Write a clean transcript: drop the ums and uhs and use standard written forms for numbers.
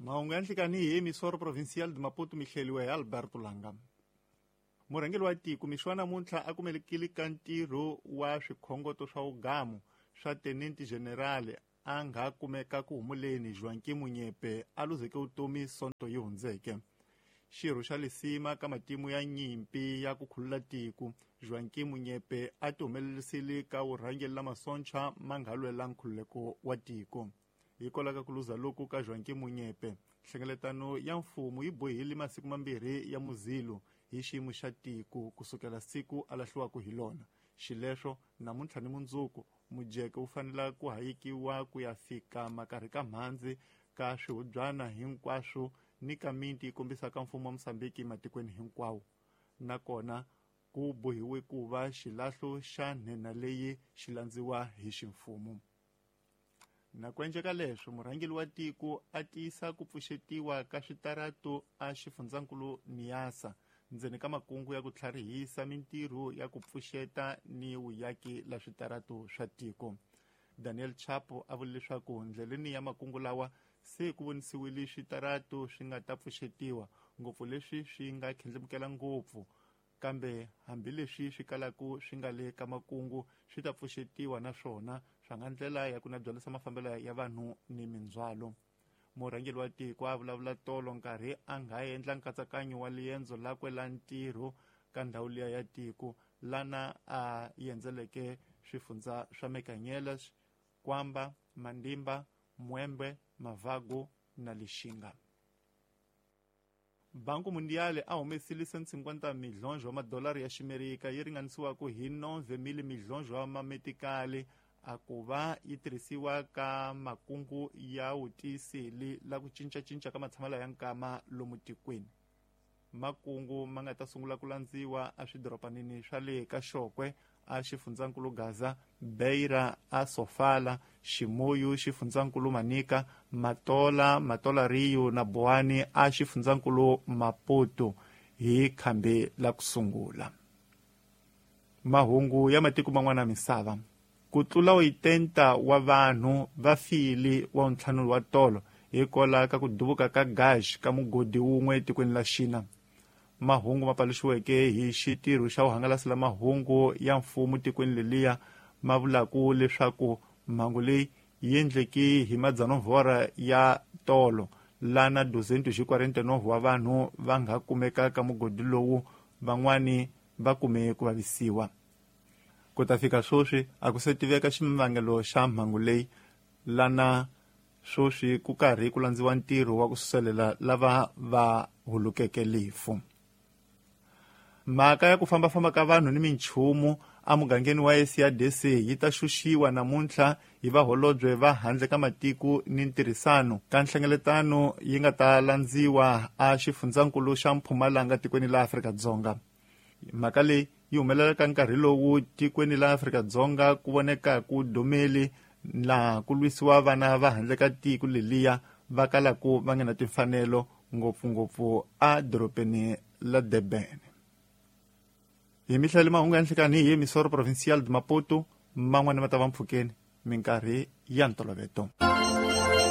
Mahungu ya nhlikani hi Emissora Provincial de Maputo mi hleliwe hi Alberto Langa. Murhangeri wa tiko mixo wa namuntlha a kumelekile ka ntirho wa swikhongoto swa ugamu swa Tenente General a nga kumeka ku humuleni Joaquim Munyepe a luzeke vutomi sonto yi hundzeke. Xirho xa lisima ka matimu ya nyimpi ya ku khulula tiko, Joaquim Munyepe a ti humelerisile ka vurhangeri la masonchwa ma nga lwela nkhululeko wa tiko. Hikwalaho ka ku luza loku ka Joaquim Munyepe, nhlengeletano ya mfumo yi bohile masiku mambirhi ya muzilo hi xiyimo xa tiko kusukela siku a lahliwaka hi lona. Xileswo, namuntlha ni mundzuku, mujeke wu fanela ku hayekiwa ku ya fika makarhi ka mhandzi ka swihubyana hinkwaswo ni ka miti yi kombisaka mfumo wa Mosambiki matikweni hinkwawo. Nakona ku bohiwe ku va xilahlo xa nhenha leyi xi landziwa hi ximfumo. Na ku endleka leswo, murhangeri wa tiko a tiyisa ku pfuxetiwa ka switaratu a xifundzankulu Niassa ndzeni ka makungu ya ku tlharihisa mintirho ya ku pfuxeta ni vuyaki la switaratu swa tiko. Daniel Chapo a vule leswaku ndleleni ya makungu lawa se ku vonisiwile switaratu swi nga ta pfuxetiwa, ngopfu leswi swi nga khendlemukela ngopfu, kambe hambileswi swi kalaka swi nga le ka makungu swi ta pfuxetiwa naswona swa nga ndlela ya ku na byalisa mafambelo ya vanhu ni mindzhwalo. Murhangeri wa tiko a vulavula tolo nkarhi a nga endla nkatsakanyo wa liendzo lakwe la ntirho ka ndhawu liya ya tiko lana a yendzeleke swifundza swa Mecanhelas, Kwamba, Mandimba, Mwembe, Mavago na Lixinga. Banco Mundial a humesile 150 milhonjo wa madolari ya Ximerika yi ringanisiwaka hi 9 milhonjo wa mametikali a ku va yi tirhisiwa ka makungu ya wutiyiseli la ku cincacinca ka matshamelo ya nkama lomu tikweni. Makungu ma nga ta sungula ku landziwa a swidoropanini swa le ka Xokwe, a xifundzankulu Gaza, Beira, a Sofala, Chimoio, xifundzankulu Manica, Matola, Matola Rio na Boane a xifundzankulu Maputo hi khambi la ku sungula. Mahungu ya matiko man'wana ya misava. Ku tlula 80 wa vanhu va file wa ntlhanu wa tolo hikwalaho ka ku duvuka ka gas ka mugodi wun'we etikweni la Xina. Mahungu ma paluxiweke hi xitirho xa vuhangalasi la mahungu ya mfumo tikweni leliya ma vulaku leswaku mhangu leyi yi endleke hi madzanuvhora ya tolo lana 249 wa vanhu va nga kumeka ka mugodi lowu, van'wani va kume ku vavisiwa. Ku ta fika sweswi a ku se tiveka xivangelo xa mhangu leyi lana sweswi ku karhi ku landziwa ntirho wa ku suselela lava va hulukeke lifu. Mhaka ya ku fambafamba ka vanhu ni minchumu emugangeni wa SADC yi ta xuxiwa namuntlha hi vaholobye va handle ka matiko ni ntirhisano ka nhlengeletano yi nga ta landziwa a xifundzankulu xa Mpumalanga tikweni la Afrika-Dzonga. Mhaka leyi yi humelela ka nkarhi lowu tikweni la Afrika-Dzonga ku voneka ku domeli laha ku lwisiwa vana va handle ka tiko leliya va kalaku va nga na timfanelo ngopfungopfu a dorobeni la Durban. Hi mihla mahungu ya nhlikani hi Emissora Provincial de Maputo, man'wana ma ta va mpfhukeni minkarhi ya ntoloveto.